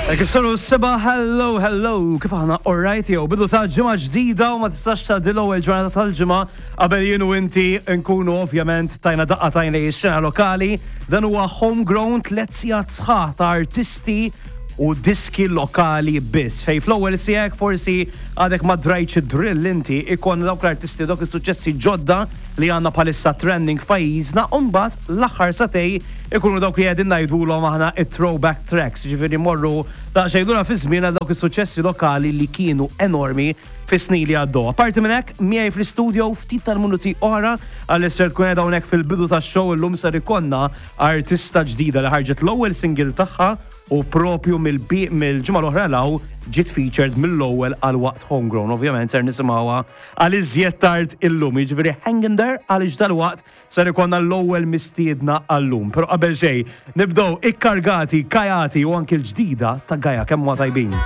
Kif saru s-seba, hello, hello, kif aħna alright jew bidu ta' ġimgħa ġdida u ma tistax ta' l-ewwel ġurnata tal-ġimgħa qabel jien u inti nkunu ovvjament tajna daqqa tajna x-xena lokali. Dan huwa homegrown 3 sigħat sħaħ ta' artisti u diski lokali biss. Fej fl-ewwel siegħek forsi għadek ma drajtx drill inti ikon dawk l-artisti, dawk is-suċċessi ġodda li għandna bħalissa trending f'pajjiżna, u mbagħad l-aħħar sagħtejn ikunu dawk li qegħdin ngħidulhom aħna it-throwback tracks, ġifieri morru daqsxejn lura fi żmien għal dawk is-suċċessi lokali li kienu enormi fis-snin li għaddew. Apparti minn hekk, miegħi fl-istudio ftit tal-minuti oħra għal ser tkun qiegħda hawnhekk fil-bidu tax-show illum ser ikollna artista ġdida li ħarġet l-ewwel single tagħha u propju mill-ġimgħa l-oħra law ġiet featured mill-ewwel għal waqt Homegrown. Ovvjament ser nisimgħuha għal iżjed tard illum. Jiġifieri hang in there għaliex dal-waqt ser ikollna l-ewwel mistiedna għallum. Però qabel xejn, nibdew ikkargati, kajati u anki l-ġdida ta' Gaia kemm huwa tajbin.